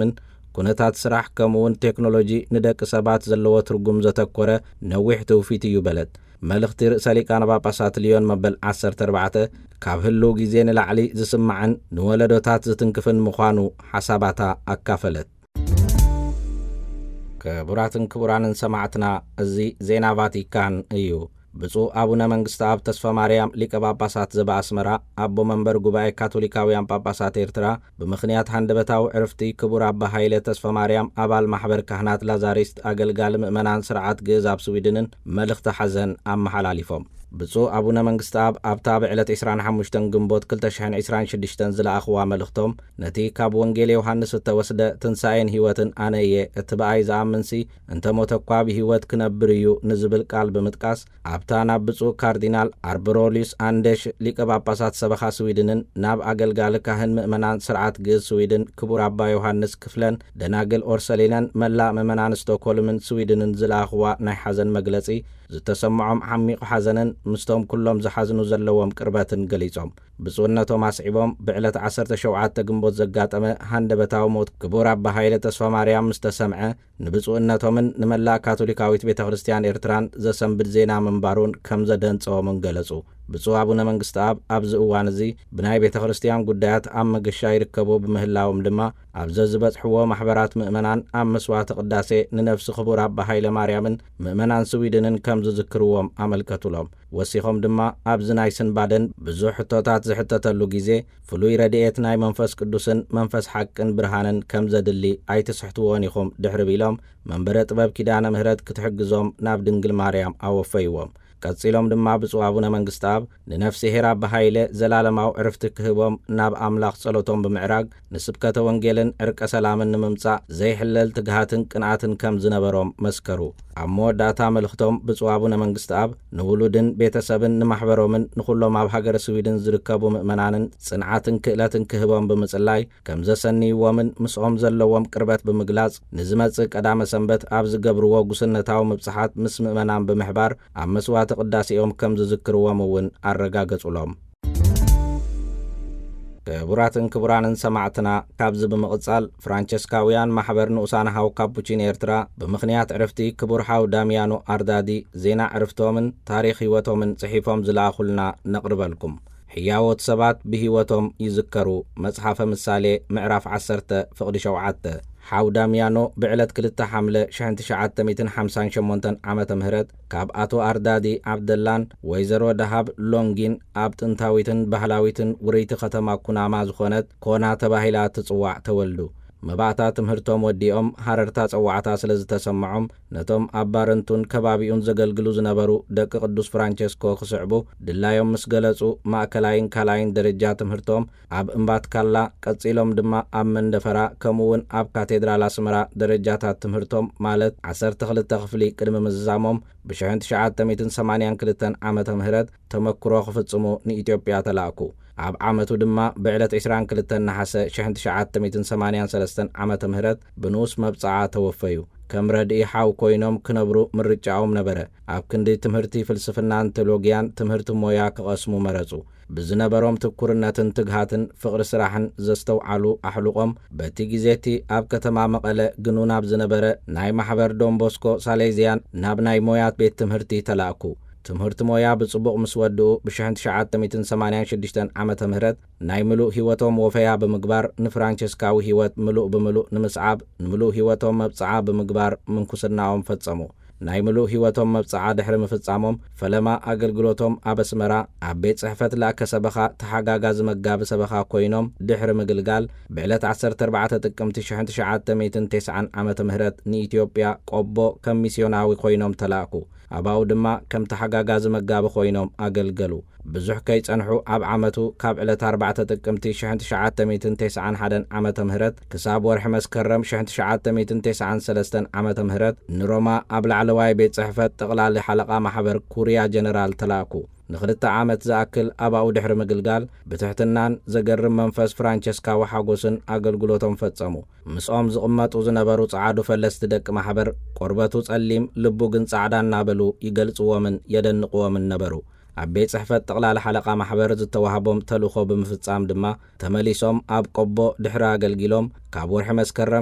ምን ኩነታት ስራሕ ከምኡውን ቴክኖሎጂ ንደቂ ሰባት ዘለዎ ትርጉም ዘተኮረ ነዊሕ ትውፊት እዩ በለት። መልእኽቲ ርእሰ ሊቃነ ጳጳሳት ሊዮን መበል ዓሰርተ ኣርባዕተ ካብ ህልው ግዜ ንላዕሊ ዝስማዕን ንወለዶታት ዝትንክፍን ምዃኑ ሓሳባታ ኣካፈለት። ክቡራትን ክቡራንን ሰማዕትና፣ እዚ ዜና ቫቲካን እዩ። ብፁዕ ኣቡነ መንግስቲ ኣብ ተስፋ ማርያም ሊቀ ጳጳሳት ዘበኣስመራ ኣቦ መንበር ጉባኤ ካቶሊካውያን ጳጳሳት ኤርትራ ብምኽንያት ሃንደበታዊ ዕርፍቲ ክቡር ኣባ ሃይለ ተስፋ ማርያም ኣባል ማሕበር ካህናት ላዛሪስት ኣገልጋሊ ምእመናን ስርዓት ግእዝ ኣብ ስዊድንን መልእኽቲ ሓዘን ኣመሓላሊፎም። ብፁዕ ኣቡነ መንግስቲ ኣብ ኣብታ ብዕለት ዕስራን ሓሙሽተን ግንቦት ክልተ ሽሕን ዕስራን ሽዱሽተን ዝለኣኽዋ መልእኽቶም፣ ነቲ ካብ ወንጌል ዮሃንስ እተወስደ ትንሳኤን ህይወትን ኣነ እየ፣ እቲ ብኣይ ዝኣምንሲ እንተ ሞተ እኳ ብህይወት ክነብር እዩ ንዝብል ቃል ብምጥቃስ፣ ኣብታ ናብ ብፁዕ ካርዲናል ኣርበሮሊዩስ ኣንደሽ ሊቀ ጳጳሳት ሰበኻ ስዊድንን ናብ ኣገልጋሊ ካህን ምእመናን ስርዓት ግእዝ ስዊድን ክቡር ኣባ ዮሃንስ ክፍለን ደናግል ኦርሰሊነን መላእ ምእመናን ስቶኮልምን ስዊድንን ዝለኣኽዋ ናይ ሓዘን መግለጺ ዝተሰምዖም ዓሚቕ ሓዘንን ምስቶም ኩሎም ዝሓዝኑ ዘለዎም ቅርበትን ገሊጾም። ብፁዕነቶም ኣስዒቦም ብዕለት ዓሰርተ ሸውዓተ ግንቦት ዘጋጠመ ሃንደበታዊ ሞት ክቡር ኣባ ሃይለ ተስፋ ማርያም ምስ ተሰምዐ ንብፁዕነቶምን ንመላእ ካቶሊካዊት ቤተ ክርስቲያን ኤርትራን ዘሰንብድ ዜና ምንባሩን ከም ዘደንጸዎምን ገለጹ። ብፁዕ ኣቡነ መንግስቲ ኣብ ኣብዚ እዋን እዚ ብናይ ቤተ ክርስቲያን ጉዳያት ኣብ መገሻ ይርከቡ ብምህላዎም ድማ ኣብ ዘዝበጽሕዎ ማሕበራት ምእመናን ኣብ መስዋዕተ ቅዳሴ ንነፍሲ ክቡር ኣባ ሃይለ ማርያምን ምእመናን ስዊድንን ከም ዝዝክርዎም ኣመልከቱሎም። ወሲኾም ድማ ኣብዚ ናይ ስንባደን ብዙሕ ሕቶታት ዝሕተተሉ ግዜ ፍሉይ ረድኤት ናይ መንፈስ ቅዱስን መንፈስ ሓቅን ብርሃንን ከም ዘድሊ ኣይትስሕትዎን ኢኹም ድሕሪ ቢሎም መንበረ ጥበብ ኪዳነ ምህረት ክትሕግዞም ናብ ድንግል ማርያም ኣወፈይዎም። ቀጺሎም ድማ ብፁዕ ኣቡነ መንግስቲ ኣብ ንነፍሲ ሄር ኣባ ሃይለ ዘላለማዊ ዕርፍቲ ክህቦም ናብ ኣምላኽ ጸሎቶም ብምዕራግ ንስብከተ ወንጌልን ዕርቀ ሰላምን ንምምጻእ ዘይሕለል ትግሃትን ቅንኣትን ከም ዝነበሮም መስከሩ። ኣብ መወዳእታ መልእኽቶም ብፁዕ ኣቡነ መንግስቲ ኣብ ንውሉድን ቤተሰብን ንማሕበሮምን ንኹሎም ኣብ ሃገረ ስዊድን ዝርከቡ ምእመናንን ጽንዓትን ክእለትን ክህቦም ብምጽላይ ከም ዘሰንይዎምን ምስኦም ዘለዎም ቅርበት ብምግላጽ ንዝመጽእ ቀዳመ ሰንበት ኣብ ዝገብርዎ ጉስነታዊ ምብጽሓት ምስ ምእመናን ብምሕባር ኣብ መስዋዕተ ቅዳሴኦም ከም ዝዝክርዎም እውን ኣረጋገጹሎም። ክቡራትን ክቡራንን ሰማዕትና፣ ካብዚ ብምቕጻል ፍራንቸስካውያን ማሕበር ንኡሳን ሃው ካፑቺን ኤርትራ ብምኽንያት ዕርፍቲ ክቡር ሃው ዳሚያኖ ኣርዳዲ ዜና ዕርፍቶምን ታሪኽ ህይወቶምን ጽሒፎም ዝለኣኹልና ነቕርበልኩም። ሕያዎት ሰባት ብህይወቶም ይዝከሩ። መጽሓፈ ምሳሌ ምዕራፍ ዓሰርተ ፍቕዲ ሸውዓተ። ሓው ዳሚያኖ ብዕለት ክልተ ሓምለ ሽሕን ትሽዓተ ሚእትን ሓምሳን ሸሞንተን ዓመተ ምህረት ካብ ኣቶ ኣርዳዲ ዓብደላን ወይዘሮ ደሃብ ሎንጊን ኣብ ጥንታዊትን ባህላዊትን ውርይቲ ከተማ ኩናማ ዝኾነት ኮና ተባሂላ ትጽዋዕ ተወልዱ። መባእታ ትምህርቶም ወዲኦም ሃረርታ ጸዋዕታ ስለ ዝተሰምዖም ነቶም ኣብ ባረንቱን ከባቢኡን ዘገልግሉ ዝነበሩ ደቂ ቅዱስ ፍራንቸስኮ ክስዕቡ ድላዮም ምስ ገለጹ ማእከላይን ካልኣይን ደረጃ ትምህርቶም ኣብ እምባትካላ ቀጺሎም ድማ ኣብ መንደፈራ ከምኡ እውን ኣብ ካቴድራል ኣስመራ ደረጃታት ትምህርቶም ማለት ዓሰርተ ክልተ ክፍሊ ቅድሚ ምዝዛሞም ብሽሕን ትሽዓተ ሚእትን ሰማንያን ክልተን ዓመተ ምህረት ተመክሮ ክፍጽሙ ንኢትዮጵያ ተላእኩ። ኣብ ዓመቱ ድማ ብዕለት ዕስራን ክልተን ነሓሰ ሽሕን ትሽዓተ ሚእትን ሰማንያን ሰለስተን ዓመተ ምህረት ብንኡስ መብጽዓ ተወፈዩ። ከም ረድኢ ሓው ኮይኖም ክነብሩ ምርጫኦም ነበረ። ኣብ ክንዲ ትምህርቲ ፍልስፍናን ቴሎጊያን ትምህርቲ ሞያ ክቐስሙ መረጹ። ብዝነበሮም ትኩርነትን ትግሃትን ፍቕሪ ስራሕን ዘስተውዓሉ ኣሕሉቖም በቲ ግዜ እቲ ኣብ ከተማ መቐለ ግኑን ኣብ ዝነበረ ናይ ማሕበር ዶንቦስኮ ሳሌዝያን ናብ ናይ ሞያ ቤት ትምህርቲ ተላእኩ። ትምህርቲ ሞያ ብጽቡቕ ምስ ወድኡ ብሽሕን ትሽዓተ ሚእትን ሰማንያን ሽዱሽተን ዓመተ ምህረት ናይ ምሉእ ህይወቶም ወፈያ ብምግባር ንፍራንቸስካዊ ህይወት ምሉእ ብምሉእ ንምስዓብ ንምሉእ ህይወቶም መብጽዓ ብምግባር ምንኩስናኦም ፈጸሙ። ናይ ምሉእ ህይወቶም መብጽዓ ድሕሪ ምፍጻሞም ፈለማ ኣገልግሎቶም ኣብ ኣስመራ ኣብ ቤት ጽሕፈት ላእከ ሰበኻ ተሓጋጋዚ መጋቢ ሰበኻ ኮይኖም ድሕሪ ምግልጋል ብዕለት ዓሰርተ ኣርባዕተ ጥቅምቲ ሽሕን ትሽዓተ ሚእትን ተስዓን ዓመተ ምህረት ንኢትዮጵያ ቆቦ ከም ሚስዮናዊ ኮይኖም ተላእኩ። ኣባኡ ድማ ከም ተሓጋጋዚ መጋቢ ኮይኖም ኣገልገሉ። ብዙሕ ከይጸንሑ ኣብ ዓመቱ ካብ ዕለት ኣርባዕተ ጥቅምቲ ሽሕን ትሽዓተ ሚእትን ተስዓን ሓደን ዓመተ ምህረት ክሳብ ወርሒ መስከረም ሽሕን ትሽዓተ ሚእትን ተስዓን ሰለስተን ዓመተ ምህረት ንሮማ ኣብ ላዕለዋይ ቤት ጽሕፈት ጠቕላሊ ሓለቓ ማሕበር ኩርያ ጀነራል ተላእኩ። ንኽልተ ዓመት ዝኣክል ኣባኡ ድሕሪ ምግልጋል ብትሕትናን ዘገርም መንፈስ ፍራንቸስካዊ ሓጎስን ኣገልግሎቶም ፈጸሙ። ምስኦም ዝቕመጡ ዝነበሩ ጸዓዱ ፈለስቲ ደቂ ማሕበር ቆርበቱ ጸሊም ልቡ ግን ጻዕዳ እናበሉ ይገልጽዎምን የደንቕዎምን ነበሩ። ኣብ ቤት ጽሕፈት ጠቕላላ ሓለቓ ማሕበር ዝተዋህቦም ተልእኾ ብምፍጻም ድማ ተመሊሶም ኣብ ቆቦ ድሕሪ ኣገልጊሎም ካብ ወርሒ መስከረም